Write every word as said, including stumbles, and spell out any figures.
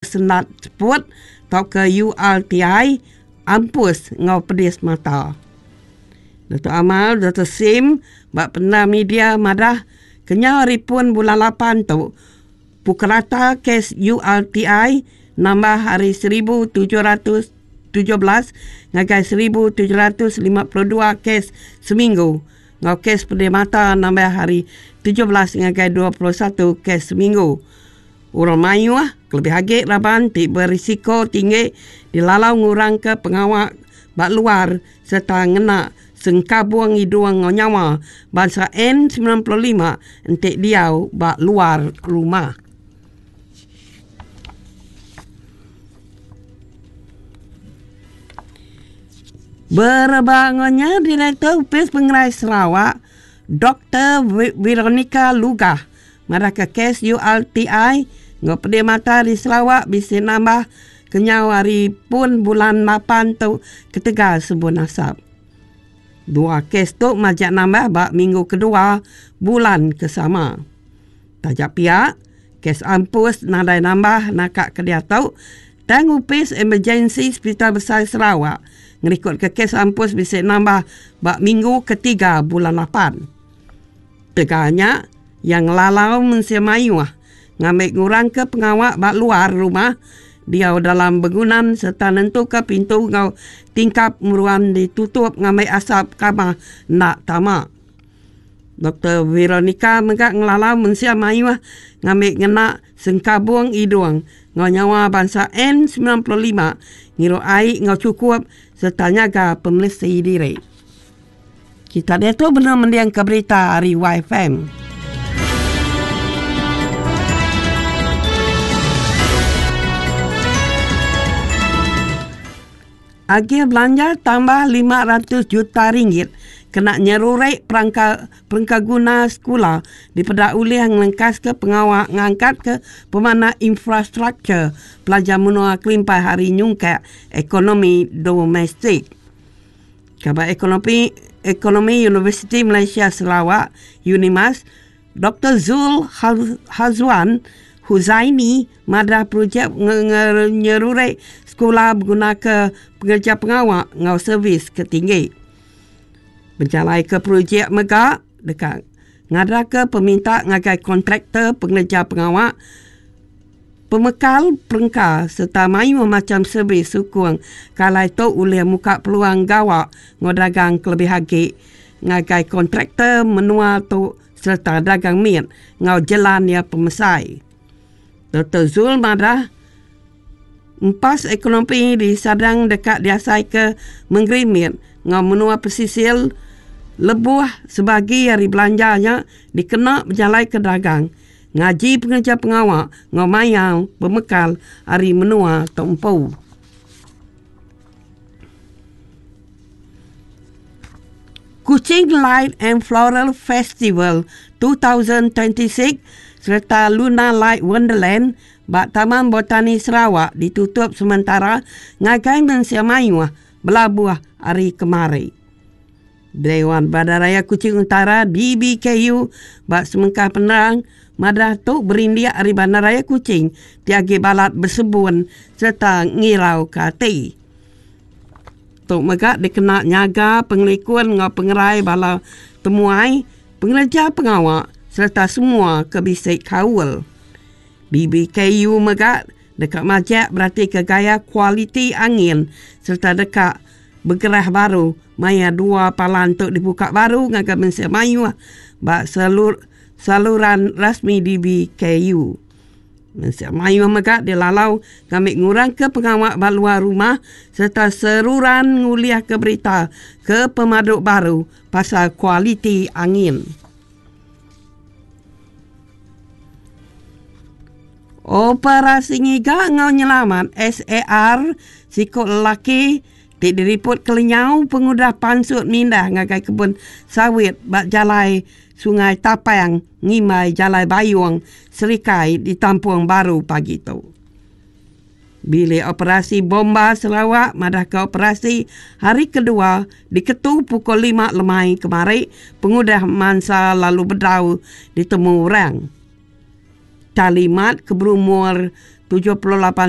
Sendat Seput tauka U R T I ampus ngau pedis mata. Datuk Amar Doktor Sim bak pernah media madah kenyau hari pun bulan lapan tu pukul rata kes U R T I nambah hari seribu tujuh ratus tujuh belas ngagai seribu tujuh ratus lima puluh dua kes seminggu. Ngau kes pedih mata nambah hari tujuh belas ngagai dua puluh satu kes seminggu. Orang mayuh kelebih agi raban ti berisiko tinggi dilalau ngurang ke pengawak bak luar serta ngena sengkabung hidung ngau nyawa bangsa N sembilan puluh lima entik diau bak luar rumah. Berbangunnya Direktur Upis Pengerai Sarawak Doktor Veronica Lugah marah ke kes U R T I ngau pedih mata di Sarawak bisa nambah kenyau hari pun bulan lapan tu ketegal sebun asap. Dua kes tu majak nambah bak minggu kedua bulan kesama. Tajak pihak, kes ampus nadai nambah nakak ke dia tau. Tang upis emergency Hospital Besar Sarawak ngerikut ke kes ampus bisa nambah bak minggu ketiga bulan lapan. Teganya yang lalau mensia mayuh ngambil ngurang ke pengawak bak luar rumah dia dalam bangunan serta nentu ke pintu ngau tingkap meruan ditutup ngambil asap kamar nak tamak. Doktor Veronica megak ngelalau mensia mayuh ngambil ngena sengkabung hidung ngau nyawa bangsa N sembilan puluh lima ngiru air ngau cukup serta nyaga pemelisi diri. Kita dia tu benar mendiang ke berita hari Y F M. Agih belanja tambah lima ratus juta ringgit kena nyerurek perangka, perangka guna sekolah dipedak ulih ngelengkas ke pengawak ngangkat ke pemana infrastruktur pelajar menua kelimpah hari nyungkak ekonomi domestik. Kabar ekonomi, ekonomi Universiti Malaysia Sarawak Unimas Doktor Zul Hazwan Huzaini madah projek nyerurek sekolah berguna ke pengerja pengawak ngau servis ketinggi. Berjalai ke projek megak dekat ngada ke peminta ngagai kontraktor pengerja pengawak pemekal perengka serta mayu macam servis sukung kalai tu ulih muka peluang gawak ngau dagang kelebih agi ngagai kontraktor menua tu serta dagang miat ngau jalan ya pemesai. Doktor Zul madah empas ekonomi di Sadang dekat diasai ke menggerimit ngau menua pesisir lebuh sebagi hari belanjanya dikena berjalai ke dagang ngaji pengerja pengawak ngau mayang pemekal hari menua tempu. Kuching Light and Floral Festival dua ribu dua puluh enam serta Luna Light Wonderland bak Taman Botani Sarawak ditutup sementara ngagai mensia mayuh belabuh hari kemari. Dewan Bandaraya Kuching Utara D B K U bak semengkah penerang madah tu berindiak hari Bandaraya Kuching tiagi balat bersebun serta ngirau ke hati. Tok megak dikena nyaga pengelikun ngau pengerai bala temuai pengerja pengawak serta semua kebisik kaul. B B K U megak dekat majak berarti ke gaya kualiti angin serta dekat bergerah baru maya dua palan untuk dibuka baru ngagai mensia mayu bak selur, saluran rasmi D B K U. Mensia mayu megak dilalau kami ngurang ke pengawak bak luar rumah serta seruran nguliah ke berita ke pemaduk baru pasal kualiti angin. Operasi ngiga ngau nyelamat S A R sikut lelaki ti diriput kelenyau pengudah pansut mindah ngagai kebun sawit bak jalai Sungai Tapang ngimai jalai Bayung Serikai di Tampung Baru pagi tu. Bilik operasi bomba Sarawak madah ke operasi hari kedua diketu pukul lima lemai kemari pengudah mansa lalu bedau ditemu orang. Kalimat keberumur tujuh puluh lapan